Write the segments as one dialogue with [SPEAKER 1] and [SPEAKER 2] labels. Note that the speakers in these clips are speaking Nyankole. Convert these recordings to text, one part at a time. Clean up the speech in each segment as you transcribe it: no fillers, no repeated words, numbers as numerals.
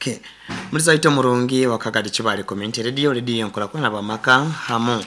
[SPEAKER 1] Okay. Muri zaito murungi wa Kagadi Kibale Community Radio, radio enkulakwana bamaka hamu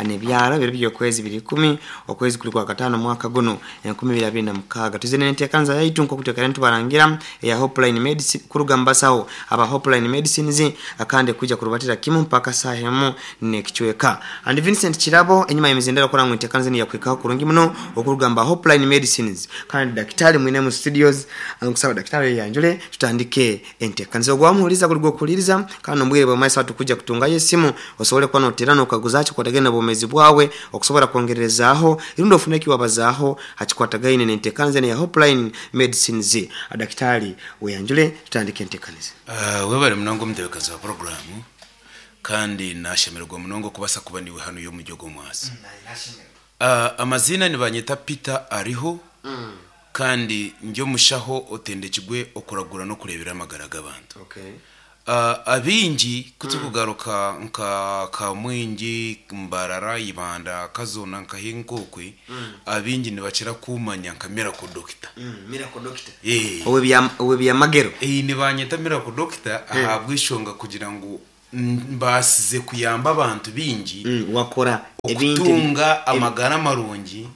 [SPEAKER 1] nebyaro biri by'okwezi biri 10 okwezi kuli kwa katano mwaka guno 2026. Tuzine nentekanza yaitu nkokutekera ntubarangira eya Hopeline Medicine kuruga mbasaho aba Hopeline Medicines akande kuja kurubatira kimu mpaka sahemu nekichweka. And Vincent Kirabo enyuma y'emizindaro kora ngu entekanza ni yakwikaho kurungi muno okurugamba Hopeline Medicines kandi daktari mwine mu studios nkusaba daktari yanjule tutandike entekanza ogwamuhuliza kuli gwokuliriza kandi ombwire bwa maisa tukuja kutungayo esimu osobole kuba noterana okaguzacho kwatagana obumezi bwawe okusobola kwongerezaaho irundi ofune kiwabazaaho hakikwatagaine nentekanza ya Hopeline Medicines. Daktari weyanjule tutandike entekanza.
[SPEAKER 2] Webale munonga omutebekazi wa programu kandi nashemererwa munonga okubasa kuba niwe hano y'omuryo gw'omwasi. Amazina nibanyeta Peter Ariho kandi ndi omushaho otendekirwe okuragura n'okureebera amagara g'abantu. Abingi kutukugaruka nka Kamwingi, Mbarara, Ibanda, Kazona nka Hinkokwe, abingi nibakira kumanya nka Miracle Doctor.
[SPEAKER 1] Miracle Doctor. Owe byamagero.
[SPEAKER 2] Nibanyeta Miracle Doctor ahabw'eshonga kugira ngu mbasize kuyamba abantu bingi
[SPEAKER 1] wakora ebintu
[SPEAKER 2] okutunga amagara marungi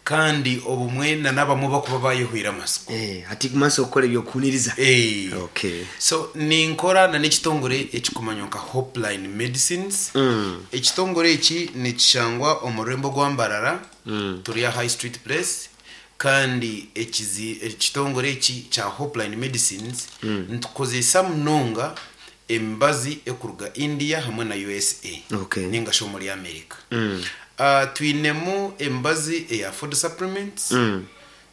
[SPEAKER 2] kandi obumwe na n'abamwe bakuba bayehwire amasiko.
[SPEAKER 1] Hati kumaso okukora ebyokuhuniriza.
[SPEAKER 2] So ninkora na n'ekitongore ekikumanywa nka Hopeline Medicines. Ekitongore eki nikishangwa omu rurembo rwa Mbarara, turi aha High Street Place, kandi ekitongore eki kya Hopeline Medicines nitukozesa munonga emibazi ekuruga India hamwe na USA ninga shi omuri America. Twinemu emibazi eya food supplements,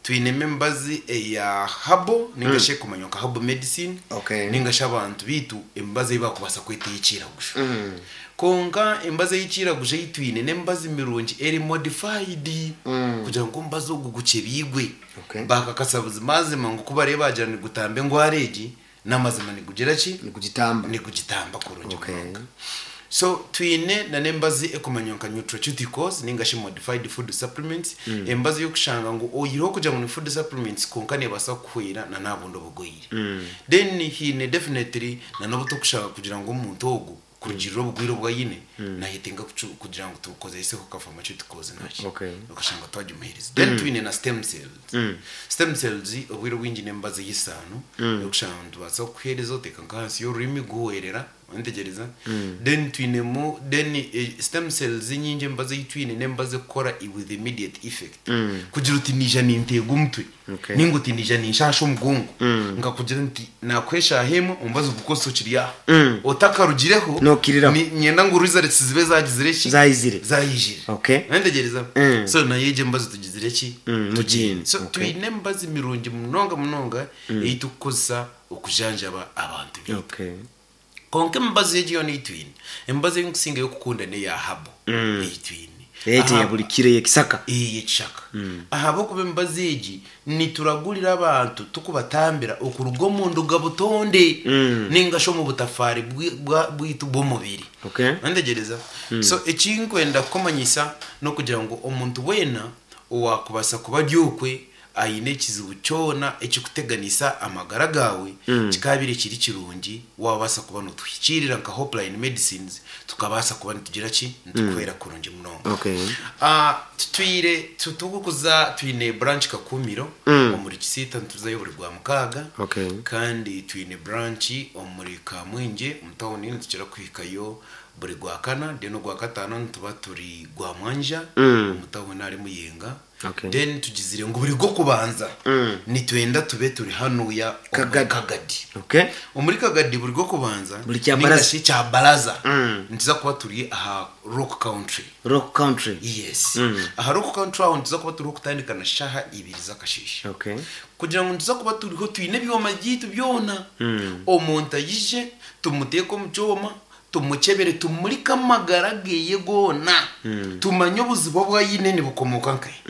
[SPEAKER 2] twinemu emibazi eya herbal ninga shi ekumanywa nka herbal medicine ninga shi abantu bitu emibazi ei bakubasa kweta ey'ekiragusho. Konka emibazi ey'ekiragusho ei twine n'emibazi mirungi eri modified kugira ngu omubazi ogu gukyebigwe bakakasa buzimazima ngu kubareba bagira nigutamba engwara egi, n'amazima nigugira ki?
[SPEAKER 1] Nikugitamba.
[SPEAKER 2] Nigugitamba kurungi munonga. So twine na n'embazi ekumanywa nka nutraceuticals ninga shi modified food supplements, embazi y'okushanga ngu oyireho kugira ngu ni food supplements konka nebaasa kukuhwera na nabundi obugwire. Then hiine definitely na n'obu tokushanga kugira ngu omuntu ogu kurugirira obugwire obu ayine nayetenga kugira ngu tukozeseho ka pharmaceuticals naki okashanga twagimuhereza. Then twine na stem cells. Stem cells obwire obwingi n'embazi y'esaano yokushanga ngu nitubaasa kukuhereza oteeka nk'ahansi y'orurimi guhwerera ontegereza. Then twinemu then stem cells nyingi embazi ei twine n'embazi ekukora with immediate effect, kugira uti niija ninteega omutwe ninga uti niija ninshasha omugongo, nkakugira nti nakuha eshaaha emwe omubazi gukozesa okiri aha otakarugireho.
[SPEAKER 1] Nookiriraho.
[SPEAKER 2] Nyenda ngu results zibe zagizire ki?
[SPEAKER 1] Zayizire.
[SPEAKER 2] Zayijire. Ntegereza. So nayo egyo emibazi tugizire ki?
[SPEAKER 1] Mugiine.
[SPEAKER 2] So twine emibazi mirungi munonga munonga ei tukukozesa okujanjaba abantu bitu. Konka emibazi egi yoona ei twine, emibazi ei nkusingayo okukunda n'eya herbal ei twine.
[SPEAKER 1] Eti ya buri kiro ey'ekisaka.
[SPEAKER 2] Ey'ekishaka, ahabw'okuba emibazi egi nituragurira abantu tukubatambira okuruga omu nduga butonde ninga shi omu butafaari bwitu bw'omubiri. Ntegereza. So ekinkwenda kukumanyisa n'okugira ngu omuntu weena owakubasa kuba ari okwe aine ekizibu kyona ekikuteganisa amagara gaawe, kikaabire kiri kirungi wabaasa kuba notuhikiirira nka Hopeline Medicines, tukabaasa kuba nitugira ki? Nitukuhwera kurungi munonga. Tutwire tukukuza twine branch Kakumiro omuri Kisiita, nituzayo buri gwa mukaaga. Kandi twine branch omuri Kamwingye omu tawuni, nitukira kuhikayo buri gwa kana. Then ogwa kataano nituba turi gwa mwanja omu tawuni ahari Muyenga. Then tugizire ngu buri gw'okubanza nitwenda tube turi hanuya omuri
[SPEAKER 1] Kagadi.
[SPEAKER 2] Kagadi. Omuri Kagadi buri gw'okubanza
[SPEAKER 1] Buri kya baraza.
[SPEAKER 2] Ninga shi kya baraza, nituza kuba turi aha Rock Country.
[SPEAKER 1] Rock Country.
[SPEAKER 2] Yes, aha Rock Country aho nituza kuba turiho kutandika na shaha 2 z'akasheeshe kugira ngu nituza kuba turiho twine ebyoma byaitu byona. Omuntu ayije tumuteeke omu kyoma, tumukyebere, tumurike amagara geye goona, tumanye obuzibu obu ayine nibukomoka nkahe.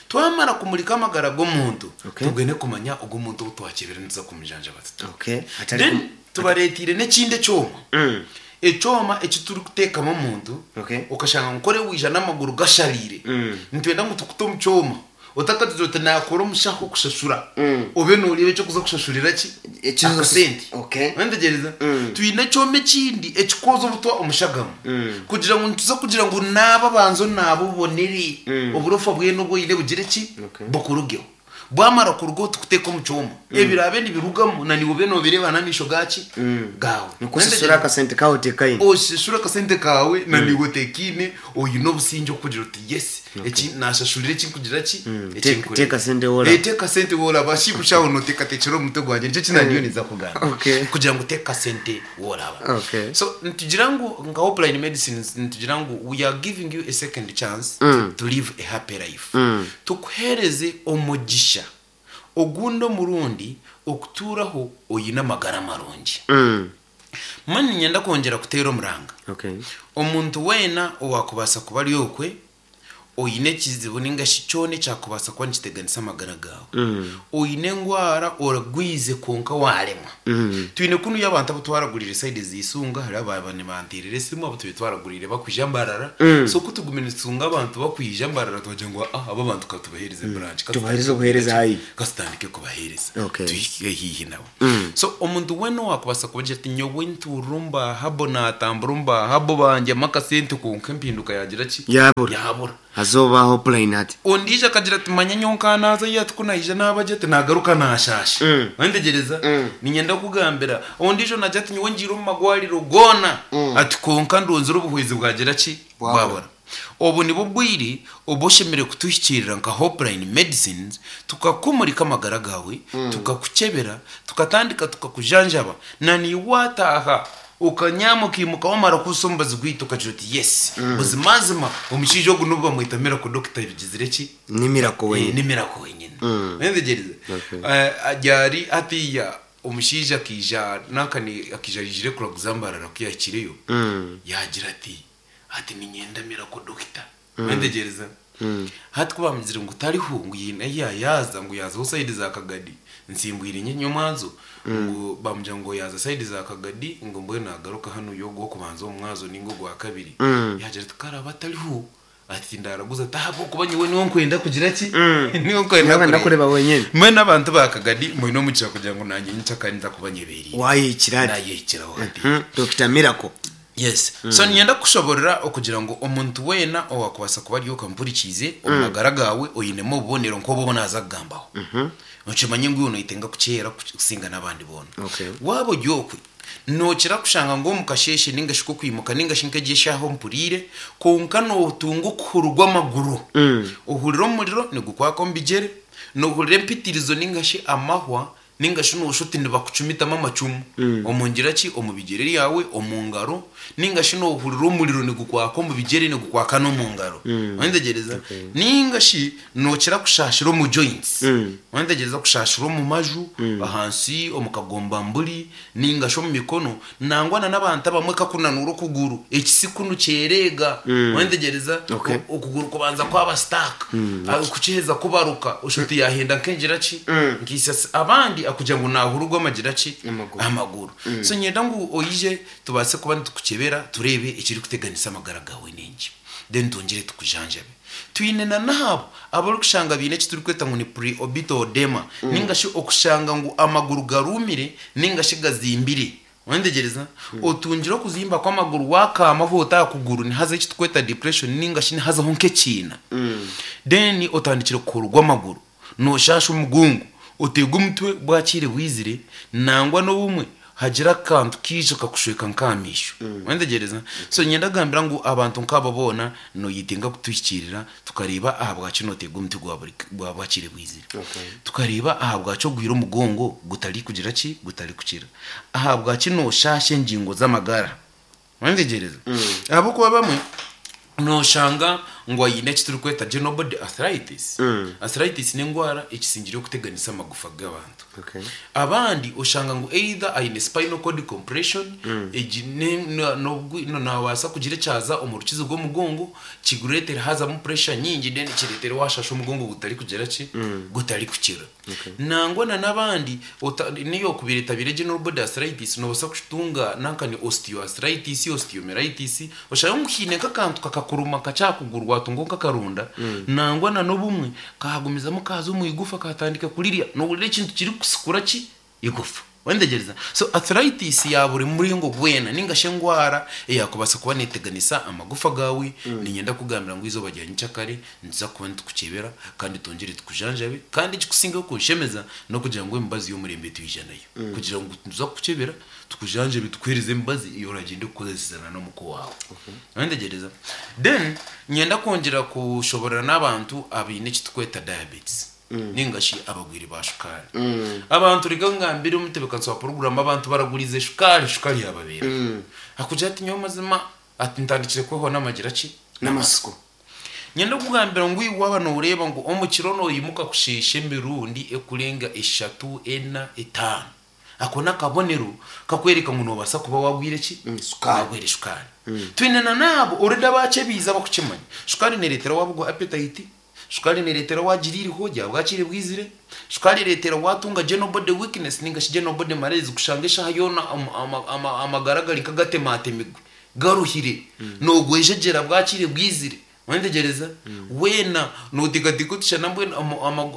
[SPEAKER 2] Twamara kumurika amagara g'omuntu, tugende kumanya ogu omuntu obu twakyebera nituza kumujanjaba tuta.
[SPEAKER 1] Atari
[SPEAKER 2] Then tubareetiire n'ekindi ekyoma, ekyoma eki turikuteekamu omuntu okashanga nkore wija n'amaguru gashariire, nitwenda ngu tukute omu kyoma otakagize oti nakora omushaho kushashura, obe noreeba ekyokuza kushashurira ki? Akasente.
[SPEAKER 1] Okay.
[SPEAKER 2] Wentegyereza? Twine ekyoma ekindi ekikwoza obutwa omu shagama. Kugira ngu nituza kugira ngu naaba banza onaabe obonere, oburofa bwena obu oine bugire ki?
[SPEAKER 1] Okay.
[SPEAKER 2] Bukurugeho. Bwamara kurugaho tukuteeka omu kyoma. Ebiraabe nibirugamu na niiwe obe noobireeba n'amaisho gaaki? Gaawe.
[SPEAKER 1] Nikwo oshashura akasente kaawe oteekaine.
[SPEAKER 2] Oshashura akasente kaawe na niiwe oteekaine, oine obusingye okugira oti yes, eki naashashurira eki nkugira ki? Eki nkureeba.
[SPEAKER 1] Teeka sente woraba.
[SPEAKER 2] Teeka sente woraba. Shi kushaho nooteekateekyera omu mutwe gwangye nikyo eki naandiyo ninza kugamba.
[SPEAKER 1] Okay.
[SPEAKER 2] Kugira ngu teeka sente woraba.
[SPEAKER 1] Okay.
[SPEAKER 2] So nitugira ngu nka Hopeline Medicines nitugira ngu we are giving you a second chance to live a happy life. Tukuheereze omugisha ogundi omurundi okutuuraho oine amagara marungi. Mbwenu niinyenda kwongyera kuteera omuranga.
[SPEAKER 1] Okay.
[SPEAKER 2] Omuntu weena owaakubaasa kuba ari okwe oine ekizibu ninga shi kyona ekyakubaasa kuba nikiteganisa amagara gaawe, oine endwara oragwize kwonka waaremwa. Twine kunuya abantu abu twaraguriire sayidi z'eisonga hariho abaaba nibanteerera esimu abu tubaire twaraguriire bakwija Mbarara. So ku tugumire nitutunga abantu bakwija Mbarara twagira ngu aa aba abantu ka tubaheereze branch, ka
[SPEAKER 1] Tubaheereze obuheereza haihi.
[SPEAKER 2] ka tutandike kubaheereza
[SPEAKER 1] Okay.
[SPEAKER 2] tuhike haihi nabo. So omuntu weena owaakubaasa kubagira ati nyowe ntuura omu Bahabo naatambura omu Bahabo bangyamu akasente kwonka empinduka yaagira ki?
[SPEAKER 1] Yaabura.
[SPEAKER 2] Yaabura.
[SPEAKER 1] Haza oba Hopeline hati.
[SPEAKER 2] Ondiijo akagira ati manya nyowe nka naaza ei ati ku naija naaba gye ati naagaruka naashaasha. Wentegyereza? Niinyenda kukugambira. Ondiijo naagira ati nyowe ngiire omu magwariro goona ati kwonka ndonzire obuhwezi bwagira ki? Bwabura. Obu nibwo bwire obu oshemereire kutuhikiirira nka Hopeline Medicines tukakumurika amagara gaawe, tukakukyebera, tukatandika tukakujanjaba na naiwe waataaha okanyaama okaimuka wamara kuhusa omubazi gwaitu okagira oti yes, buzimazima omushaija ogu n'obu bamweta Miracle Doctor bigizire ki?
[SPEAKER 1] Ni Miracle wenyine.
[SPEAKER 2] Ni Miracle wenyine. Oyetegyerize? Ryari hatiiya omushaija akaija nankani akaija aijire kuraguza Mbarara ku yaahikireyo yaagira ati Hati niinyenda Miracle Doctor. Wentegyereza? Hati ku baamugizire ngu tariho, ngu haine ahi yaaza, ngu yaazaho sayidi za Kagadi, nsimbwire nye nyomwazo, ngu baamugira ngu yaaza sayidi za Kagadi, ngu mbwenu naagaruka hanu y'ogw'okubanza omu mwazo nainga ogwa kabiri. Yaagira ati ku araabe atariho, ati tindaraguza ati ahabw'okuba nyowe niwe nkwenda kugira ki? Niwe nkwenda
[SPEAKER 1] Niwe kwenda kureeba wenyine.
[SPEAKER 2] Mbwenu abantu ba Kagadi mwine omugisha kugira ngu naanye nyenkyakare ninza kuba nyebeereire.
[SPEAKER 1] Waayehikira hati.
[SPEAKER 2] Naayehikiraho hati.
[SPEAKER 1] Dokita Miracle.
[SPEAKER 2] Yes. So niinyenda kukushoborora okugira ngu omuntu weena owaakubaasa kuba ari okamuhurikiize omu magara gaawe oinemu obubonero nk'obu obu naaza kugambaho. Okimanye ngu iwe noyetenga kukyera kusinga n'abandi boona.
[SPEAKER 1] Okay.
[SPEAKER 2] Waaba ori okwe, nookira kushanga ngu omu kasheeshe nainga shi k'okwimuka nainga shi nk'egi eshaaha ompuriire, kwonka nootunga okuhururwa amaguru. Ohurira omuriro nigukwaka omu bigyere, noohurira empitirizo nainga shi amahwa Nainga shi nooshusha oti nibakucumitamu amacumu omu ngira ki? Omu bigyere byawe, omu ngaro, nainga shi noohurira omuriro nigukwaka omu bigyere nigukwaka n'omu ngaro. Wayetegyereza? Nainga shi nookira kushaashira omu joints. Wayetegyereza? Kushaashira omu maju, ahansi omu kagombamburi, nainga shi omu mikono. Nangwa na n'abantu abamwe kakunanuura okuguru, ekisi kunu kyereega. Wayetegyereza? Okuguru kubanza kwaba stuck. Kukiheza kubaruka, oshusha oti yaahenda nk'engira ki? Nk'eisasi. Abandi akugira ngu naahururwa amagira ki? Amaguru. So niinyenda ngu oije tubaase kuba nitukukyebera tureebe ekirikuteganisa amagara gaawe n'enki. Then twongyere tukujanjabe. Twine na n'abo abarikushanga baine eki turikweta ngu ni pre-orbital oedema ninga shi okushanga ngu amaguru garuumire ninga shi gazimbire. Wayetegyereza? Otungire okuzimba kw'amaguru waakaamaho ota aha kuguru nihazaho eki turikweta depression ninga shi nihazaho nk'ekiina. Then otandikire kuhururwa amaguru, nooshaasha omugongo, oteega omutwe bwakiire bwizire nangwa n'obumwe hagira akantu kaija kakushweka nk'aha maisho. Wayetegyereza? So niinyenda kugambira ngu abantu nk'abo boona noyetenga kutuhikiirira tukareeba ahabwaki nooteega omuti gwa buri gwa bwakire bwizire. Tukareeba ahabwaki ogwire omugongo gutarikugira ki? Gutarikukira. Ahabwaki nooshaasha engingo z'amagara. Wayetegyereza? Ahabw'okuba abamwe nooshanga ngu aine eki turikweta general body arthritis. Arthritis n'endwara ekisingire okuteganisa amagufa g'abantu. Abandi oshanga ngu either aine spinal cord compression, egi naabaasa kugira ekyaza omu rukizi rw'omugongo kigureetere haazamu pressure nyingi then kireetere waashasha omugongo gutarikugira ki? Gutarikukira. Nangwa na n'abandi niyo okubaire etabaire general body arthritis noobaasa kutunga nanka ni osteoarthritis, osteomyelitis, oshange ngu haine nk'akantu kakakuruma kakye aha kuguru waatungaho nk'akaronda, nangwa na n'obumwe kaagumizamu kaaza omu igufa kaatandika kurirya, noohurira ekintu kirikusikura ki? Igufa. Wetegyereza? So arthritis ya buri muringo gwena ninga shi endwara eyakubaasa kuba neteganisa amagufa gaawe, niinyenda kukugambira ngu eizooba rya nyenkyakare nituza kuba nitukukyebera kandi twongyere tukujanjabe. Kandi ekikusingayo kunshemeza n'okugira ngu emibazi y'omurembe twija nayo kugira ngu nituza kukukyebera tukujanjabe tukuheereze emibazi ei oragyende kukozesezana n'omuka owaawe. Wetegyereza? Then niinyenda kwongyera kushoborora n'abantu abaine eki turikweta diabetes. Ninga shi abagwire ba shukaari. Abantu reka ngambire omutebekanisa wa puroguramu abantu baragurize shukaari, shukaari yababeeraho. Akugira ati nyowe mazima ati ntandikire kwehwa n'amagira ki?
[SPEAKER 1] N'amatsiko.
[SPEAKER 2] Nyenda kukugambira ngu iwe waaba nooreeba ngu omu kiro noimuka kusheesha emirundi ekurenga eshatu, ena, etaano, ako n'akabonero kakwereka ngu noobaasa kuba waagwire ki?
[SPEAKER 1] Shukaari.
[SPEAKER 2] Waagwire shukaari. Twine na n'abo already abaakyebiize abakukimanya. Shukaari neereetera waabugwa appetite, Shukaari nereetera waagira eiriho rya bwakire bwizire. Shukaari ereetera waatunga general body weakness ninga shi general body malaise kushanga eshaaha yoona amagara gari nk'agatematemigwe garuhire noogwejegyera bwakire bwizire. Wetegyereza? Weena nooteekateeka oti shana mbwenu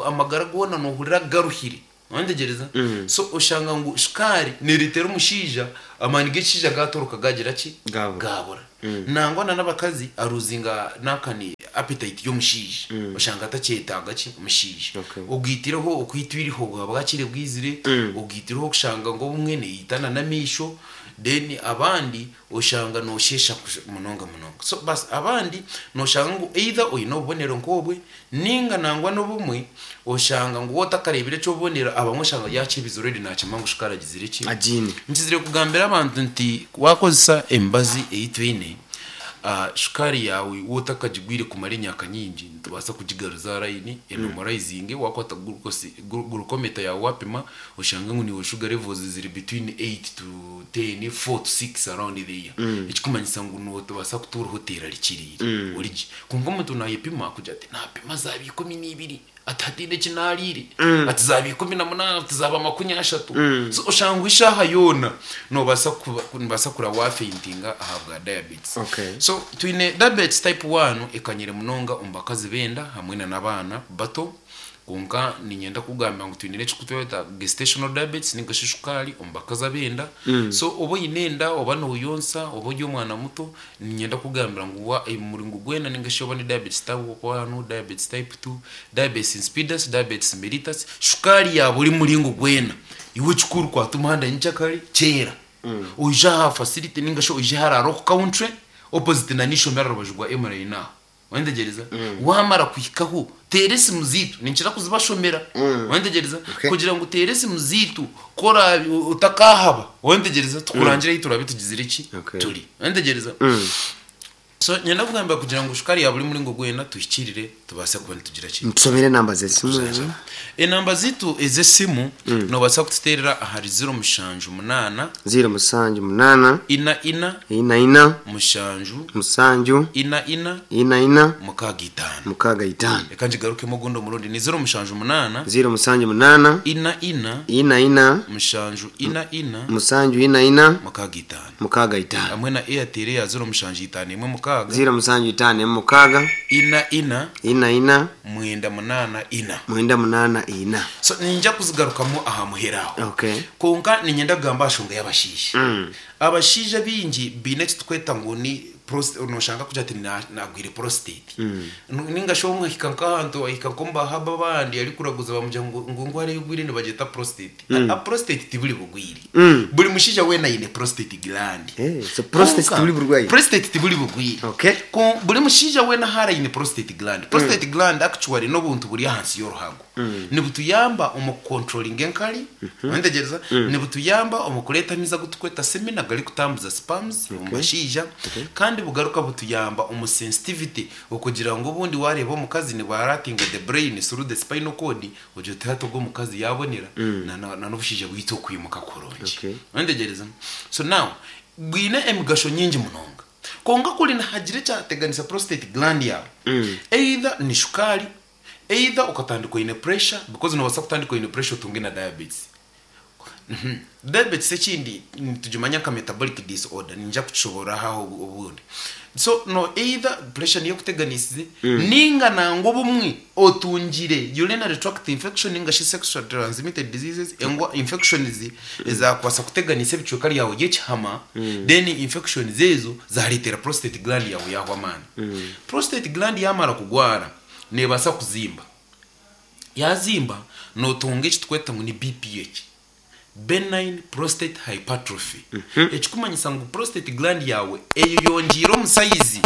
[SPEAKER 2] amagara goona noohurira garuhire. Wetegyereza? So oshanga ngu shukaari nereetera omushaija amaani g'ekishaija gaatoroka gaagira ki?
[SPEAKER 1] Gaabura.
[SPEAKER 2] Gaabura. Nangwa na n'abakazi aruzinga naakani appetite y'omushaija. Oshanga atakyetaaga ki? Omushaija.
[SPEAKER 1] Okay.
[SPEAKER 2] Ogaitireho okwitwa eiriho bwaba bwakire bwizire, ogaitireho okushanga ngu obumwe neeyitana n'amaisho, then abandi Oshanga noosheesha munonga munonga. So basi abandi nooshanga ngu either oine obubonero nk'obwe nainga nangwa n'obumwe oshanga ngu waaba otakareebire eky'obubonero abamwe oshanga yaakyebize already naakimanya ngu shukaari agizire ki?
[SPEAKER 1] Agiine.
[SPEAKER 2] Nkizire kugambira abantu nti waakozesa emibazi ei twine, shukaari yaawe waaba otakagigwire kumara emyaka mingi nitubaasa kugigaruza aha layini enomoraizinge, waakwata glucometer yaawe waapima Oshange ngu niiwe sugar levels ziri between 8 to 10, 4 to 6 around there. Ekikumanyisa ngu nobaasa kutuura oterarikiriire ori gye. Kwonka omuntu nayepima akugira ati napima zaaba 12 ati hataine eki nariire, ati zaaba 18 ati zaaba 30. So oshanga ngu eshaaha yoona nobaasa kuba nobaasa kuraba wafeintinga ahabwa diabetes.
[SPEAKER 1] Okay.
[SPEAKER 2] So twine diabetes type 1 ekanyire munonga omu bakazi b'enda hamwe na n'abaana bato. Kwonka niinyenda kukugambira ngu twine n'ekirikutweta gestational diabetes ninga shi shukaari omu bakazi ab'enda. So oba oine enda oba nooyonsa oba ori omwana muto, niinyenda kukugambira ngu wa omuringo gwena ninga shi oba ni diabetes type one, diabetes type two, diabetes insipidus, diabetes mellitus, shukaari ya buri muringo gwena, iwe ekikuru kwata omuhanda nyenkyakare kyera. Oije aha facility ninga shi oije hariya Rock Country opposite na n'eishomero aha rubaju rwa M-line aho. Wayetegyereza? Waamara kuhikaho, teera esimu zaitu. Ninkira kuzibashomera. Wayetegyereza?
[SPEAKER 1] Okay.
[SPEAKER 2] Kugira ngu oteere esimu zaitu, ku oraabe otakaahaba. Wayetegyereza? Tukurangire ahu turaabe tugizire ki?
[SPEAKER 1] Okay.
[SPEAKER 2] Turi. Wayetegyereza? So niinyenda kugamba kugira ngu shukaari ya buri muringo gwena tuhikiirire tubaase kuba nitugira ki?
[SPEAKER 1] Ntusomere enamba z'esimu ezo.
[SPEAKER 2] Enamba zaitu ez'esimu noobaasa kututeerera ahari ziro mushanju munaana.
[SPEAKER 1] 078.
[SPEAKER 2] Ina ina.
[SPEAKER 1] Ina ina.
[SPEAKER 2] Mushanju.
[SPEAKER 1] Musanju.
[SPEAKER 2] Ina ina.
[SPEAKER 1] Ina ina.
[SPEAKER 2] Mukaaga itaano.
[SPEAKER 1] Mukaaga itaano.
[SPEAKER 2] Reka ngigarukemu ogundi omurundi. Ni ziro mushanju munaana.
[SPEAKER 1] Ziro musanju munaana.
[SPEAKER 2] Ina ina.
[SPEAKER 1] Ina ina.
[SPEAKER 2] Mushanju ina ina.
[SPEAKER 1] Musanju ina ina.
[SPEAKER 2] Mukaaga itaano.
[SPEAKER 1] Mukaaga itaano.
[SPEAKER 2] Hamwe na Airtel eya ziro mushanju itaano emwe mukaaga.
[SPEAKER 1] Ziro musanju itaano emwe mukaaga.
[SPEAKER 2] Ina ina.
[SPEAKER 1] Ina ina.
[SPEAKER 2] Mwenda munaana ina.
[SPEAKER 1] Mwenda munaana ina.
[SPEAKER 2] So niinyija kuzigarukamu aha muheru aho.
[SPEAKER 1] Okay.
[SPEAKER 2] Kwonka niinyenda kugamba aha nshonga y'abashaija. Abashaija baingi baine eki turikweta ngu ni noshanga arikugira ati nagwire prostate. Ninga shi obumwe ahika nk'ahantu ahika nk'omu bahaba abandi arikuraguza bamugira ngu ngu endwara ei ogwire nibagyeta prostate. A prostate tiburi bugwire. Buri mushaija weena aine prostate gland.
[SPEAKER 1] Eh, so prostate
[SPEAKER 2] Kwonka,
[SPEAKER 1] tiburi burwaire.
[SPEAKER 2] Prostate tiburi bugwire.
[SPEAKER 1] Okay.
[SPEAKER 2] Buri mushaija weena ahu ari aine prostate gland. Prostate gland actually n'obuntu buri ahansi y'oruhago. Nibutuyamba omu kukontrolinga enkari, Wayetegyereza? Nibutuyamba omu kureeta amaizi agu turikweta semen agarikutambuza sperms omu bashaija kandi bugaruka butuyamba omu sensitivity okugira ngu obundi waareeba omukazi nibwaratinga the brain through the spinal cord ogira oti hati ogu omukazi yaabonera na na n'obushaija bwaitu okwimuka kurungi.
[SPEAKER 1] Okay.
[SPEAKER 2] Wayetegyereza? So now bwine emigasho nyingi munonga. Kwonka kuri nihagira ekyateganisa prostate gland yaawe either ni shukaari, Either okatandika oine pressure because nobaasa kutandika oine pressure otunge na diabetes. Diabetes ekindi nitugimanya nka metabolic disorder, niinyija kukishoboororaho aho obundi. So no either pressure niyo ekuteganisize ninga nangwa obumwe otungire urinary tract infection ninga shi sexual transmitted diseases engwa infections ezakubaasa kuteganisa ebicweka ryawe ry'ekihama then infections ezo zareetera prostate gland yawe yahwa amaani. Prostate gland yamara kugwara nebaasa kuzimba, yazimba notunga eki tukweta ngu ni BPH. Benign prostate hypertrophy, ekikumanyisa ngu prostate gland yaawe eyeyongyeire omu sayizi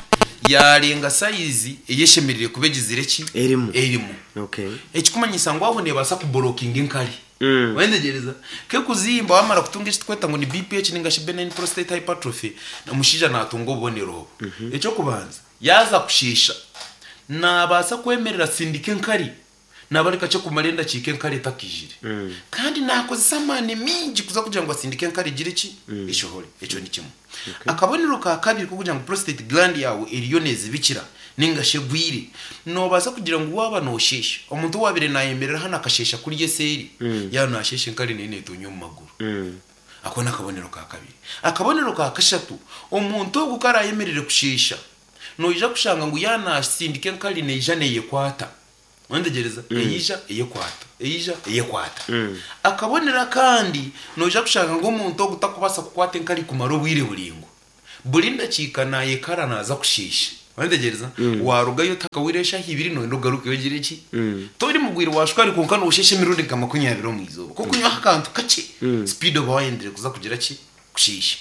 [SPEAKER 2] yaarenga sayizi ei eshemereire kuba egizire ki?
[SPEAKER 1] Erimu.
[SPEAKER 2] Erimu.
[SPEAKER 1] Okay.
[SPEAKER 2] Ekikumanyisa ngu aho neebaasa kuborokinga enkari. Wayetegyereza? Kekuzimba waamara kutunga eki turikweta ngu ni BPH ninga shi benign prostate hypertrophy, omushaija naatunga obubonero obu. Eky'okubanza, yaaza kushiisha, naabaasa kwemerera asindike enkari Naaba ari kakye kumara endakiika enkari etakaijire. Kandi naakozesa amaani maingi kuza kugira ngu asindike enkari egire ki? Eshohore. Ekyo ni kimwe. Akabonero ka kabiri k'okugira ngu prostate gland yaawe eriyo neezibikira nainga shi egwire, noobaasa kugira ngu waaba noosheesha, omuntu owaabaire naayemerera hanu akasheesha kuriya eseeri, yaaba naasheesha enkari neyo neetoonya omu maguru. Ako n'akabonero ka kabiri. Akabonero ka kashatu, omuntu ogu ku araayemerere kusheesha, noija kushanga ngu yaaba naasindika enkari neija neeyekwata. Wetegyereza? Eija eyekwata, eija eyekwata. Akabonero akandi, noija kushanga ngu omuntu ogu takubaasa kukwata enkari kumara obwire buraingwa. Buri ndakiika naayekara naaza kushiisha. Wetegyereza? Waarugayo otakahwaire eshaaha ibiri noyenda ogarukeyo ogire ki? Tori mugwire wa shukaari kwonka noosheesha emirundi nka makunyabiri omu izooba. Ku orikunywaho akantu kakye, sipiidi oba waayendire kuza kugira ki? Kushiisha.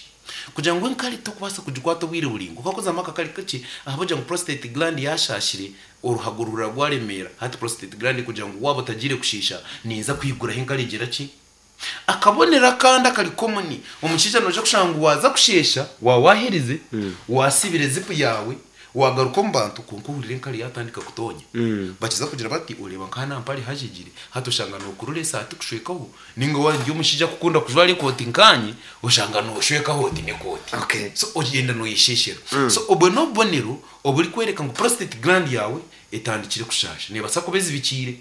[SPEAKER 2] Kugira ngu enkari tokubaasa kugikwata obwire buraingwa. Ku orikuzamu akakari kakye, ahabw'okugira ngu prostate gland yaashaashire, Oruhago rurira rwaremeera hati prostate gland kugira ngu waaba otagiire kushiisha ninza kwiguraho enkari egira ki? Akabonero akandi akari common, omushaija noija kushanga ngu waaza kusheesha waaba waaherize, waasibire zipu yaawe, waagaruka omu bantu kwonka ohurira enkari yaatandika kutoonya. Bakiza kugira bati oreeba nka hanu aha mpare hajegire, hati oshanga nookurura esaati kushwekaho Ninga waaba ori omushaija arikukunda kujwara ekooti nkaanye, oshanga nooshwekaho oti n'ekooti.
[SPEAKER 1] Okay.
[SPEAKER 2] So ogyenda nooyesheeshera. So obwo n'obubonero oburikworeka ngu prostate gland yaawe etandikire kushaasha. Neebaasa kuba ezibikiire.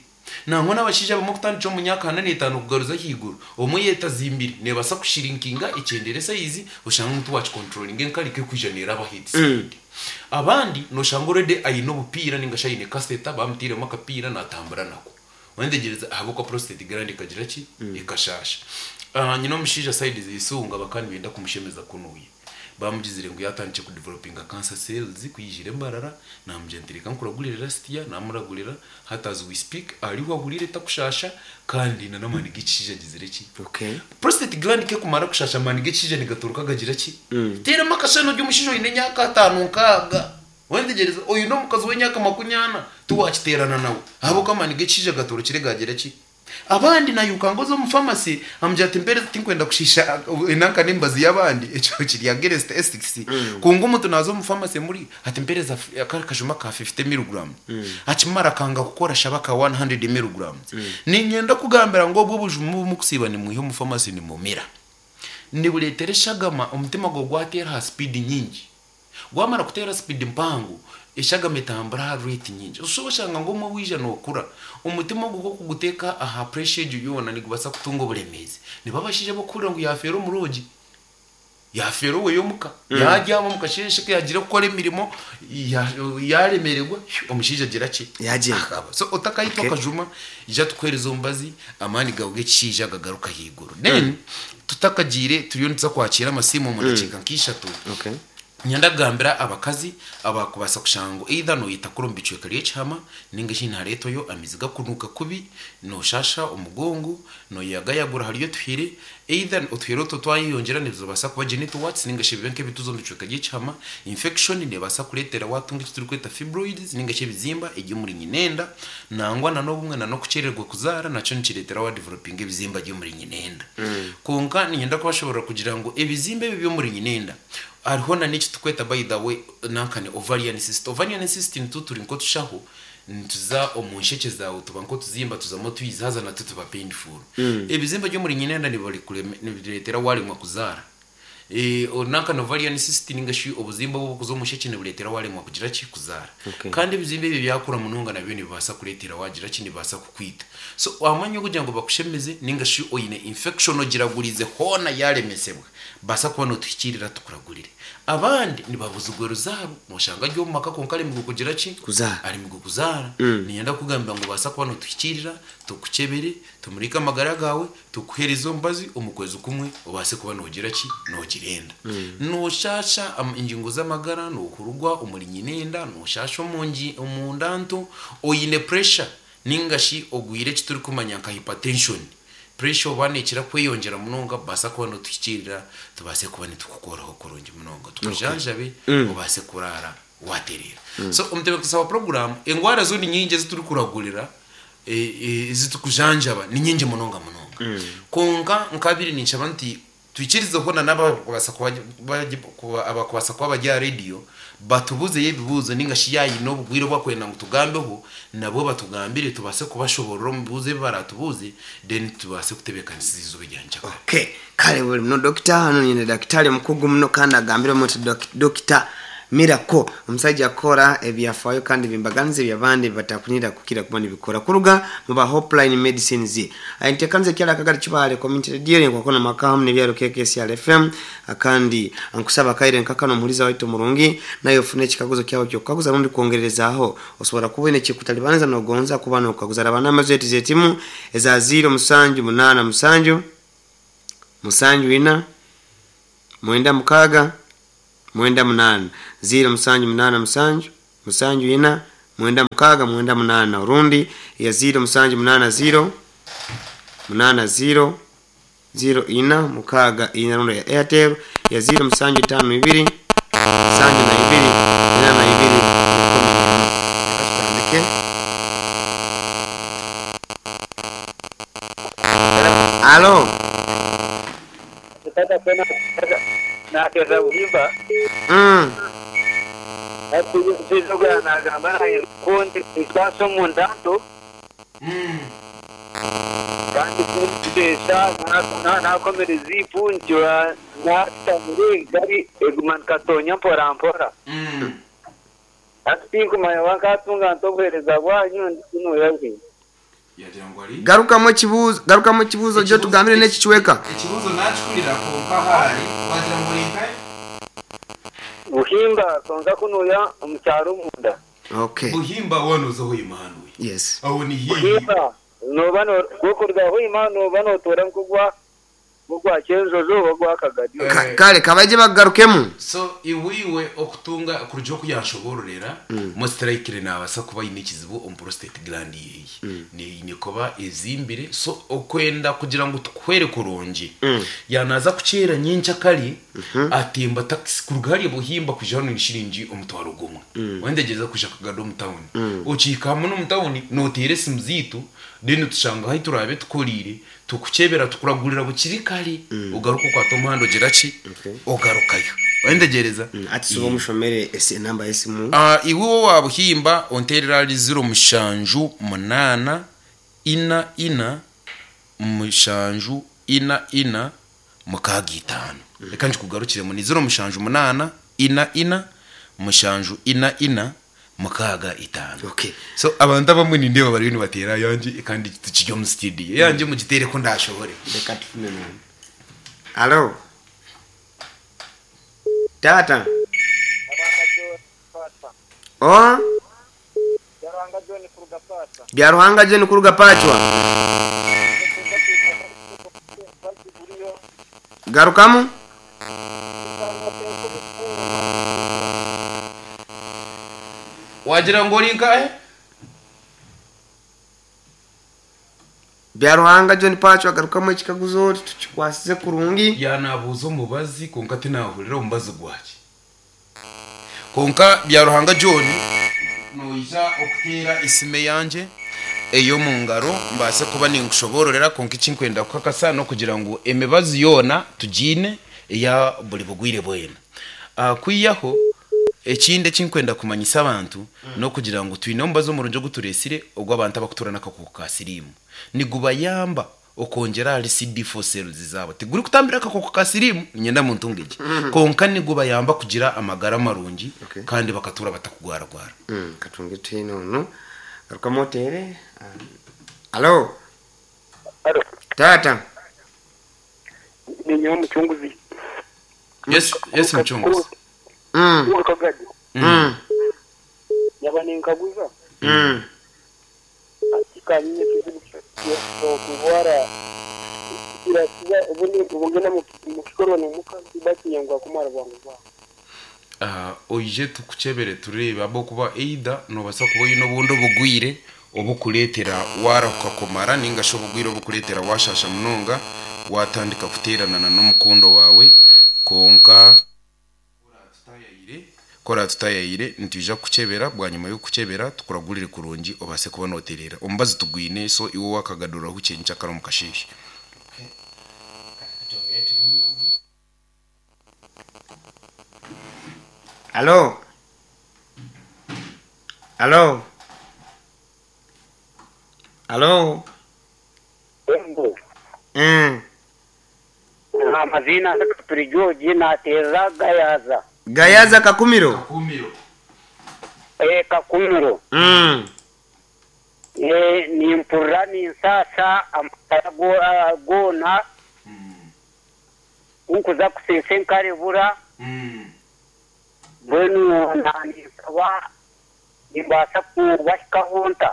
[SPEAKER 2] Nangwa n'abashaija abamwe kutandikira omu myaka ana n'etaano kugaruza ahaiguru, obumwe yaetazimbire, neebaasa kushirinkinga ekyendeere sayizi, oshange ngu tiwaakikonturoringa enkari ku erikwija neeraba aha speed. Abandi nooshanga already aine obupiira ninga shi aine catheter, baamutairemu akapiira naatambura nako. Wayetegyereza ahabw'okuba prostate gland ekagira ki? Ekashaasha. Nyine omushaija side z'eisonga bakaba nibenda kumushemeza kunuya. Bamugizire ngu yatandikire ku developinga cancer cells ku yaijire Mbarara, namugira nti reka nkuragurire last year, namuragurira, hati as we speak ariho ahuriire takushaasha kandi na n'amaani g'ekishaija agizire ki?
[SPEAKER 1] Okay.
[SPEAKER 2] Prostate gland ku ekumara kushaasha amaani g'ekishaija nigatoroka gagira ki? Teeramu akashushani ori omushaija oine emyaka ataano nkaaga. Wetegyereze, oine omukazi w'emyaka makunyana, tiwaakiteerana nawe, ahabw'okuba amaani g'ekishaija gatorokire gaagira ki? Abandi nairuka ngu oze omu famasi, amugira ati mpeereza tinkwenda kushiisha enanka n'emibazi y'abandi, ekyo kiri against ethics, kwonka omuntu naaza omu famasi emuri, ati mpeereza kari akajuma ka fifty milligrams, akimara akanga kukora ashaba aka one hundred milligrams. Niinyenda kukugambira ngu obwo obujuma obu murikusiiba nimwiha omu famasi nimumira, nibureetera eshagama omutima gwawe gwateera aha sipiidi nyingi. Gwamara kuteera sipidi mpango, eshagama etambura aha rate nyingi. Oshusha oshanga ngu omwe waija nokura, omutima ogwo ku orikuguteeka aha pressure egyo yoona nigubaasa kutunga oburemeezi. Nibo abashaija abarikuhurira ngu yafeera omu lodge, yafeera oweye omuka, yabyama omu kasheeshe ku yagiire kukora emirimo, yaremererwa, omushaija agira ki?
[SPEAKER 1] Yagyenda.
[SPEAKER 2] Akaba. So otakaitwa
[SPEAKER 1] Okay.
[SPEAKER 2] akajuma, ija tukuheereze omubazi, amaani gaawe g'ekishaija gagaruke ahaiguru. Then tutakagiire turiyo nituza kwakiira amasimu omu dakiika nk'ishatu.
[SPEAKER 1] Okay.
[SPEAKER 2] Niinyenda kugambira abakazi abakubaasa kushanga ngu either noyetakura omu bicweka ry'ekihama ninga shi nihareetwayo amaizi gakunuuka kubi, noshasha omugongo, noyagayagura hariyo otuhire, either otuhire otwo twayeyongyera nibibaasa kuba genital warts ninga shi bibe nk'ebituza omu bicweka by'ekihama, infection nebaasa kureetera watunga eki turikweta fibroids ninga shi ebizimba eby'omuri nyinenda, nangwa na n'obumwe na n'okukyererwa kuzaara nakyo nikireetera wa developinga ebizimba by'omuri nyinenda. Kwonka niinyenda kubashoboorora kugira ngu ebizimba ebi eby'omuri nyinenda, Hariho na n'eki turikweta by the way nanka ni ovarian cyst. Ovarian cyst nitwo turi nk'otushaho nituza omu nshekye zaawe tuba nk'otuzimba tuzamu otwizi haza natwo tuba painful. Ebizimba by'omuri nyinenda nibireetera waaremwa kuzaara. Nanka na ovarian cyst ninga shi obuzimba obu obukuza omu shekye nibureetera waaremwa kugira ki? Kuzaara.
[SPEAKER 1] Okay.
[SPEAKER 2] Kandi ebizimba ebyo byakura munonga nabyo nibibaasa kureetera waagira ki? Nibibaasa kukwita. So aha mwanya gw'okugira ngu bakushemeze ninga shi oine infection ogiraguriize hoona yaaremesebwa, baasa kuba nootuhikiirira tukuragurire. Abandi nibabuzigwa ruzaaro, noshanga ari omu maka kwonka aremirwe kugira ki?
[SPEAKER 1] Kuzaara.
[SPEAKER 2] Aremirwe kuzaara. Niinyenda kukugambira ngu obaasa kuba nootuhikiirira, tukukyebere, tumurike amagara gaawe, tukuheereze omubazi, omu kwezi kumwe obaase kuba noogira ki? Noogira enda. Nooshaasha engingo z'amagara, noohurugwa omuri nyina enda, nooshaasha omu ngi omu nda nto, oine pressure ninga shi ogwire eki turikumanya nka hypertension. Pressure oba nekira kweyongyera munonga baasa kuba notuhikiirira tubaase kuba nitukukoraho kurungi munonga tukujanjabe obaase kuraara watereera. So omutebeekanisa wa puroguraamu engwara zo ni nyingi ezi turikuragurira ezi turikujanjaba ni nyingi munonga munonga. Kwonka nkabire ninshaba nti Twikirizeho na n'abarikubaasa kuba abarikubaasa kuba bari aha rediyo batubuuzeyo ebibuuzo nainga shi yaaba haine obugwire obu barikwenda ngu tugambeho, nabwo batugambire tubaase kubashoboorora omu bibuuzo ebi baraatubuuze then tubaase kutebeekanisiza eizooba erya nkyakare.
[SPEAKER 1] Okay, kare buri muno dokita hanu nyine dakitari omukugu muno kandi agambire omu nti Dokita Miracle omusaija akora ebyafaayo kandi ebyembaganiza ebyabandi ebibatakunira kukira kuba nibikora kuruga mu ba Hopeline Medicines. Enteekaniza ekyaro akagari Kibaale Community Radio enkwakona amaka hamu nebyaro KKCR FM kandi nkusaba akaire nka kanu omuhuriza waitu omurungi nawe ofune ekikaguzo kyawe ekyokukaguza rundi kwongererezaaho osobora kuba oine ekikutalibaniza nogonza kuba nokaguza raba namba zaitu zetimu eza ziiro musanju munaana musanju musanju ina mwenda mukaaga mwenda munaana, ziiro musanju munaana musanju, musanju ina, mwenda mukaaga mwenda munaana, orundi eya ziiro musanju munaana ziiro, munaana ziiro, ziiro ina, mukaaga ina, rundi eya Airtel ya ziiro musanju itaano ibiri, musanju na ibiri, ina na ibiri, rukumi n'emwe. Reka tutandike. Alo.
[SPEAKER 3] Tata nateeza buhimba. Hati omushaija ogu yaaba nagamba naanye ku ninkwasa omu ndanto kandi ku ndikushesha nakomire ziipu nkiba nashutamire egari eguma nikatonya mpora mpora. Hati tinkumanya oba nkatunga nta obuheereza bwanyu ndi kunuya bwingi.
[SPEAKER 2] Yagira ngu ari.
[SPEAKER 1] Garukamu ekibuuzo garukamu ekibuuzo gye otugambire n'ekicweka.
[SPEAKER 2] Ekibuuzo naakihurira kwonka ahari wagira ngu ori nkahi?
[SPEAKER 3] Buhimba kwonka kunuya omu kyaro omunda.
[SPEAKER 1] Okay.
[SPEAKER 2] Buhimba waaba nooza Hoima hanuya.
[SPEAKER 1] Yes.
[SPEAKER 2] Aho ni haihi.
[SPEAKER 3] Buhimba nooba no okuruga Hoima nooba nootoora nk'ogwa Ogwa Kyenjojo oba ogwa Kagadi.
[SPEAKER 1] Kare kabaije bakugarukemu.
[SPEAKER 2] So iwe iwe okutunga kurugira oku yanshoboororera, most likely nabaasa kuba aine ekizibu omu prostate gland yeye. Eine kuba ezimbire so okwenda kugira ngu tukuhwere kurungi, yaaba naaza kukyeera nyenkyakare, atemba taxi kuruga hariya Buhimba kwija hanu ni shiringi omutwaro gumwe. Wayenda kwija Kagadi omu tawuni. Okihika hamwe n'omu tawuni nooteera esimu zaitu then tushanga ahu turaabe tukoriire Tukukyebera tukuragurira bukiri kare ogaruka okwata omuhanda ogira ki? Ogarukayo. Oyendegyereza?
[SPEAKER 1] Hati suba omushomere enamba y'esimu.
[SPEAKER 2] Iwe owa Buhimba onteerere ahari ziro mushanju munaana ina ina mushanju ina ina mukaaga itaano. Reka ngikugarukiremu ni ziro mushanju munaana ina ina mushanju ina ina mukaaga itaano.
[SPEAKER 1] Okay.
[SPEAKER 2] So abantu abamwe nindeeba bariyo nibateera ayangye kandi tukiri omu studio. Eyangye mugiteere ku ndaashohore.
[SPEAKER 1] Reka tufune n'ondi. Alo. Taata. Oha? Byaruhanga John kuruga Pacwa. Garukamu.
[SPEAKER 2] Wagira ngu ori nkahe?
[SPEAKER 1] Byaruhanga John Pacwa garukamu ekikaguzo tukikwasize kurungi.
[SPEAKER 2] Yaanabuuza omubazi kwonka tinaahurira omubazi gwaki. Kwonka Byaruhanga John noija okuteera esimu eyangye ey'omu ngaro mbaase kuba ninkushoboororera kwonka eki nkwenda kukakasa n'okugira ngu emibazi yoona tugiine eya buri bugwire bwena. Kwihaho ekindi eki nkwenda kumanyisa abantu n'okugira ngu twine omubazi omurungi ogu tureetsire ogw'abantu abarikutuura n'akakooko ka siriimu. Nigubayamba. Okwongyera ahari CD4 cells zaabo. Tigurikutambira akakooko ka siriimu, niinyenda muntunge gye. Kwonka nigubayamba kugira amagara marungi
[SPEAKER 1] Okay.
[SPEAKER 2] kandi bakatuura batakugwaragwara.
[SPEAKER 1] Katunge twine onu. Garukamu oteere. Alo.
[SPEAKER 4] Alo.
[SPEAKER 1] Taata.
[SPEAKER 4] Ninyowe Mucunguzi.
[SPEAKER 2] Yes, yes Mucunguzi.
[SPEAKER 4] Kagadi. Yaba ninkaguza. Ati kanyine ekizibu ky'okurwara kirakiza obundi obugenda mu kikorwa n'omukazi bakiyangwa kumara bwangu bwangu.
[SPEAKER 2] Ah, oije tukukyebere tureebe ahabw'okuba either noobaasa kuba oine obundi obugwire obukureetera waarahuka kumara nainga shi obugwire obukureetera waashaasha munonga waatandika kuteerana na n'omukundwa waawe kwonka ku oraatutayaayire nitwija kukukyebera bwanyima y'okukukyebera tukuragurire kurungi obaase kuba nootereera. Omubazi tugwine so iwe waakagaduraho kyenykyakare omu kasheeshe.
[SPEAKER 1] Alo. Alo. Alo.
[SPEAKER 4] Embo. Amaziina Kapiri George nateerera Gayaza.
[SPEAKER 1] Gayaza Kakumiro.
[SPEAKER 2] Kakumiro.
[SPEAKER 4] Eh, Kakumiro. Eh, nimpurira ninsaasa amagara goona. Ku nkuza kuseesa enkarebura. Mbwenu naaninsaba nimbaasa kubahikaho nta?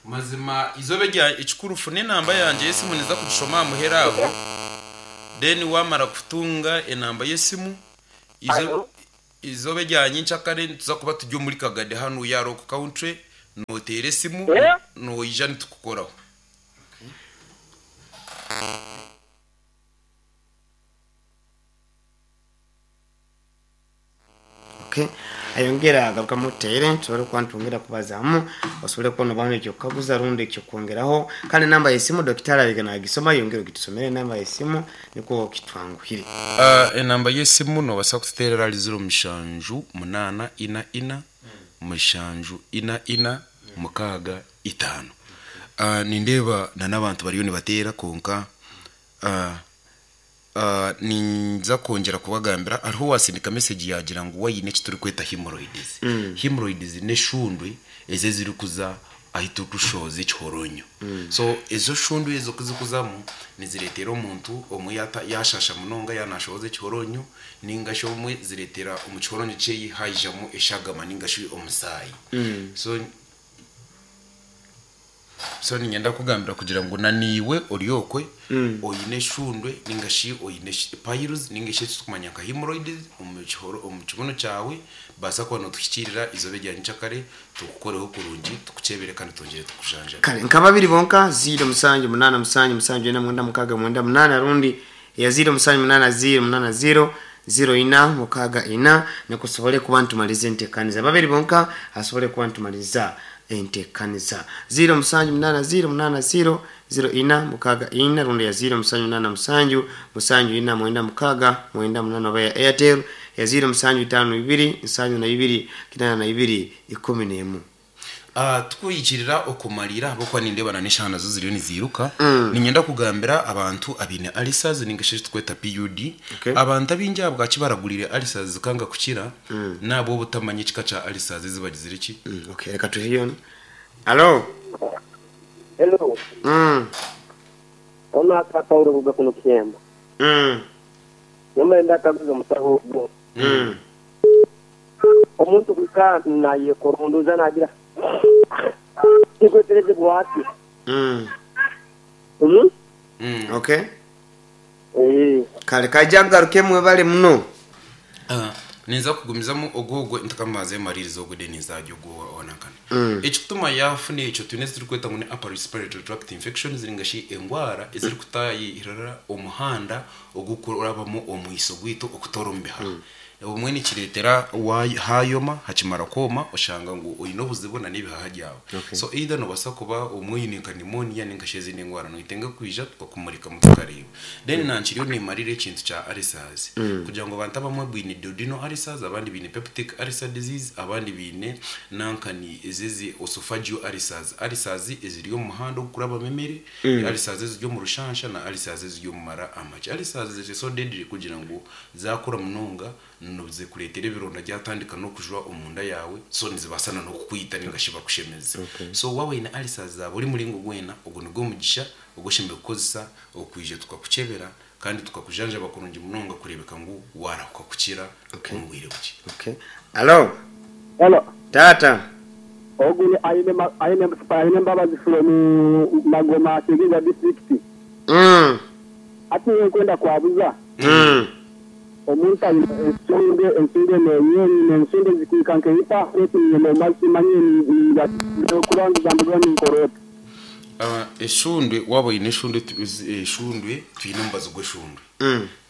[SPEAKER 2] Mazima eizooba erya ekikuru funa enamba yangye y'esimu ninza kugishoma aha muheru aho then wamara kutunga enamba y'esimu
[SPEAKER 4] Alo?
[SPEAKER 2] eizooba erya nyenkyakare nituza kuba turi omuri Kagadi hanu Yarok Country noteera esimu
[SPEAKER 4] Eh?
[SPEAKER 2] noija nitukukoraho.
[SPEAKER 1] Okay. Ayongera agarukamu oteere tusobole kuba nitwongera kubazaamu osobole kuba noba n'ekyokukaguza rundi ekyokwongeraho kandi enamba y'esimu dokitaari abaire naagisoma yongera ogitusomere enamba y'esimu nikwo kitwanguhire.
[SPEAKER 2] Ah, enamba y'esimu noobaasa kututeerera ahari ziro mushanju munaana ina ina mushanju ina ina mukaaga itaano. Ah, nindeeba na n'abantu bariyo nibateera kwonka ah, ah, ninza kwongyera kubagambira hariho owaasindika message yaagira ngu we aine eki turikweta hemorrhoids. Hemorrhoids n'eshundwe ezi ezirikuza ahu turikushohoza ekihoronyo. So ezo shundwe ezo ku zirikuzamu nizireetera omuntu omwe yaata yaashaasha munonga yaaba naashohoza ekihoronyo nainga shi obumwe zireetera omu kihoronyo kyeye haijamu eshagama nainga shi omusaayi. So so niinyenda kukugambira kugira ngu na naiwe ori okwe oine eshundwe nainga shi oine piles nainga shi eki turikumanya nka hemorrhoids omu kihoro omu kibunu kyawe baasa kuba nootuhikiirira eizooba erya nyenkyakare tukukoreho kurungi tukukyebere kandi twongyere tukujanjabe.
[SPEAKER 1] Kare nka babiri bonka 0 musanju munaana musanju musanju ena mwenda mukaaga mwenda munaana rundi eya 0 musanju munaana 0 munaana 0 0 ina mukaaga ina nikwo tusobole kuba nitumaliza enteekaniza. Babiri bonka asobole kuba nitumaliza enteekaniza. 0 musanju munaana 0 munaana 0 0 ina mukaaga ina rundi ya 0 musanju munaana musanju musanju ina mwenda mukaaga mwenda munaana oba ya Airtel ya 0 musanju itaano ibiri nsanju na ibiri kinaana na ibiri ikumi n'emu.
[SPEAKER 2] Ah, tukuhikirira okumarira ahabw'okuba nindeeba na n'eshaaha nazo ziriyo niziiruka niinyenda kugambira abantu abaine ulcers ninga shi eki turikweta PUD
[SPEAKER 1] Okay.
[SPEAKER 2] abantu abaingi ahabwaki baragurire ulcers zikanga kukira n'ahabw'obutamanya ekika kya ulcers ezi bagizire ki
[SPEAKER 1] Okay, reka tuhiyo. Alo.
[SPEAKER 4] Hello. Ono aka Paulo kuruga kuno Kyemba. Nyamara ndakaguza omusaho ogwo. Omuntu kuhika nayekorondoza nagira tikweterezebwa ati.
[SPEAKER 1] Okay. Kare kaija kugaruka mwebale muno.
[SPEAKER 2] Ah, ninza kugumizamu ogwo ogwo ntakambaze maririza ogwo then nzajya ogwo onankana ekikutuma yafuna ekyo twine eziturikweta ngu ni upper respiratory tract infections ninga shi engwara ezirikutayirira omuhanda ogukurabamu omwiso gwaitu okutoora omu bihaha obumwe nikireetera hayoma hakimara kwoma oshanga ngu oine obuzibu na n'ebihaha byawe. So either noobaasa kuba obumwe oine nka pneumonia ninga shi ezindi ndwara noyetenga kwija tukakumurikamu tukareeba. Then nankiriyo nimarira ekintu kya ulcers kugira ngu abantu abamwe baine duodenal ulcers. ulcers, abandi baine peptic ulcer disease, abandi baine nankani ezizi esophageal ulcers, ulcers eziri omu muhanda ogukurabamu emere, ulcers eziri omu rushansha na ulcers eziri omu mara amakye. Ulcers ziri so deadly kugira ngu zakura munonga nizikureetera ebironda byatandika n'okujwa omunda yaawe, so nizibaasa na n'okukwita ninga shi bakushemeze. So waaba oine ulcers za buri muringo gwena, ogu nigwo mugisha ogu oshemereire kukozesa okwija tukakukyebera kandi tukakujanjaba kurungi munonga kureebeka ngu waarahuka kukira omu bwire bukye.
[SPEAKER 1] Okay. Alo.
[SPEAKER 4] Hello.
[SPEAKER 1] Taata.
[SPEAKER 4] Ogu ni Aine Aine Aine Mbabazi from Magoma Kigigwa district. Hati nyowe nkwenda kwabuza omuntu aine ensunde ensunde nenyonyi nensunde zikwika nkeitaano eti ninyenda omubazi simanyire kubanza mbigura ninkora ota.
[SPEAKER 2] Eshundwe waaba oine eshundwe eshundwe twine omubazi gw'eshundwe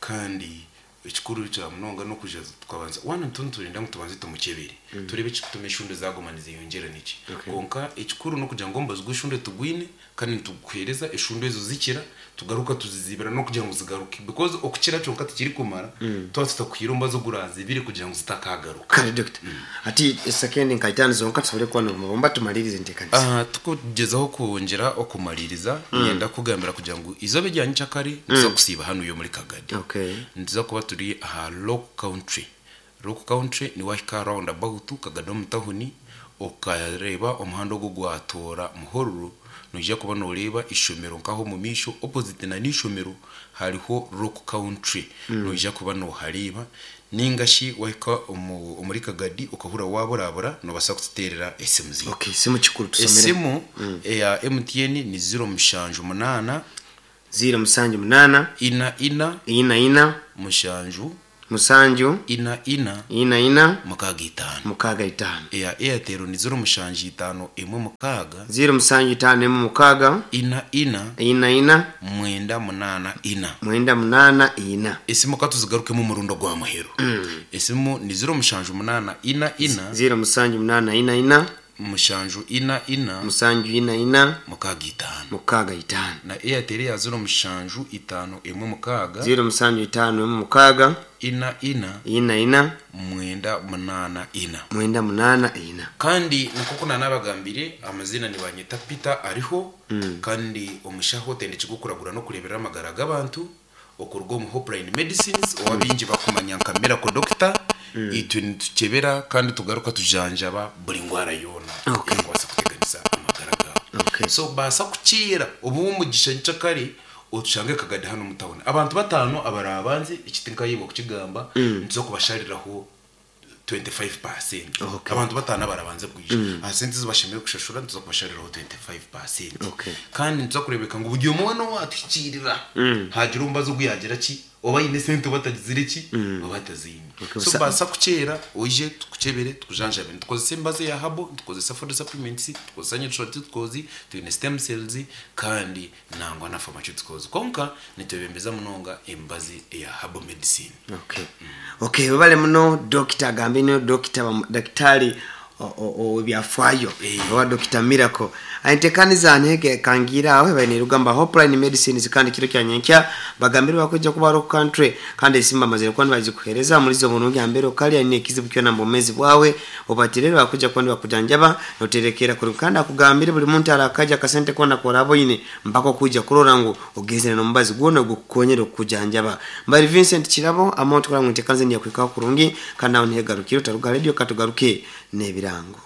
[SPEAKER 2] kandi ekikuru kya munonga n'okwija tukabanza waaba niturenda ngu tubanze tumukyebere tureebe ekirikutuma eshundwe zaaguma nizeyongyera niki. Kwonka ekikuru n'okugira ngu omubazi gw'eshundwe tugwine kandi nituguheereza eshundwe ezo zikira tugaruka tuzizibira n'okugira ngu zigaruke because okukira kyonka tikirikumara twaba tutakuhaire omubazi ogurazibire kugira ngu zitakagaruka.
[SPEAKER 1] Kare doctor. Hati esekendi nka itaano zonka tusobole kuba nibumba tumalirize enteekanisa.
[SPEAKER 2] Aha tukugyezaho kwongyera okumaliriza niinyenda kukugambira kugira ngu eizooba erya nyenkyakare nituza kusiiba hanuya omuri Kagadi. Nituza kuba turi aha Rock Country. Rock Country ni wahika aha round about Kagadi omu tahuni okareeba omuhanda ogu ogwatoora Muhororo noija kuba noreeba eishomero nkaho omu maisho opposite na n'eishomero hariho Rock Country noija kuba nohareeba ninga shi wahika omuri Kagadi okahurira waburabura nobaasa kututeerera esimu zaitu.
[SPEAKER 1] Okay, esimu kikuru tusomere.
[SPEAKER 2] Esimu eya MTN ni ziro mushanju munaana.
[SPEAKER 1] Ziiro musanju munaana.
[SPEAKER 2] Ina ina.
[SPEAKER 1] Ina ina.
[SPEAKER 2] Mushanju.
[SPEAKER 1] Musanju.
[SPEAKER 2] Ina ina.
[SPEAKER 1] Ina ina.
[SPEAKER 2] Mukaaga itaano.
[SPEAKER 1] Mukaaga itaano.
[SPEAKER 2] Eya Airtel ni ziro mushanju itaano emwe mukaaga.
[SPEAKER 1] Ziiro musanju itaano emwe mukaaga.
[SPEAKER 2] Ina ina.
[SPEAKER 1] Ina ina.
[SPEAKER 2] Mwenda munaana ina.
[SPEAKER 1] Mwenda munaana ina.
[SPEAKER 2] Esimu ka tuzigarukemu omurundi ogwa muheru. Esimu ni ziro mushanju munaana ina ina.
[SPEAKER 1] Ziiro musanju munaana ina ina.
[SPEAKER 2] Mushanju ina ina.
[SPEAKER 1] Musanju ina ina.
[SPEAKER 2] Mukaaga itaano.
[SPEAKER 1] Mukaaga itaano.
[SPEAKER 2] Na Airtel eya ziro mushanju itaano emwe mukaaga.
[SPEAKER 1] Ziiro musanju itaano emwe mukaaga.
[SPEAKER 2] Ina ina.
[SPEAKER 1] Ina ina.
[SPEAKER 2] Mwenda munaana ina.
[SPEAKER 1] Mwenda munaana ina.
[SPEAKER 2] Kandi nk'oku naanabagambire, amaziina nibanyeta Peter Ariho, kandi omushaho otendekirwe okuragura n'okureeberera amagara g'abantu okuruga omu Hopeline Medicines ou abaingi bakumanya nka Miracle Doctor. Itwe nitukyebera kandi tugaruka tujanjaba buri ndwara yoona erikubaasa kuteganisa amagara gaawe. So baasa kukiira obuhe omugisha nyenkyakare otushange Kagadi hanu omu tawuni. Abantu bataano abaraabanze, eki tinkayebwa kukigamba, nituza kubashariraho 25%. Abantu bataano abarabanze kwija, aha sente ezi bashemereire kushashura nituza kubashariraho 25%. Kandi nituza kureebeka ngu buri omwe weena owaatuhikiirira, haagira omubazi ogu yaagira ki, oba aine esente oba atagizire ki, oba ataziine. So baasa kukyeera oije tukukyebere tukujanjabe. Nitukozesa emibazi eya herbal, nitukozesa food supplements, nitukozesa nutraceuticals, twine stem cells kandi nangwa na pharmaceuticals. Kwonka nitwebembeza munonga emibazi eya herbal medicine.
[SPEAKER 1] Okay. Okay, webale muno Dokita agambe niwe Dokita bamu- Daktari ow'ebyafaayo owa Dokita Miracle. Entekaniza ntege kangiire aho ebaire nerugamba Hopeline Medicines kandi kiro kya nyenkya bagambire bakwija kuba Rock Country kandi esimu bamazire kuba nibagikuhereza omulizi omurungi ambere okali aine ekizibu kyona omu bwomezi bwawe obatirere bakwija kuba nibakujanjaba noterekeera kurungi kandi akugambire buri muntu arakaja akasente koona koraba oine mpaka okwija kurora ngu ogenzire n'omubazi gwona ogukukonyera okukujanjaba. Mbari Vincent Kirabo amonto kurora ngu entekaniza enu yakuhikaho kurungi kandi nawe niho egarukire otaruga ha radio katugaruke n'ebirango.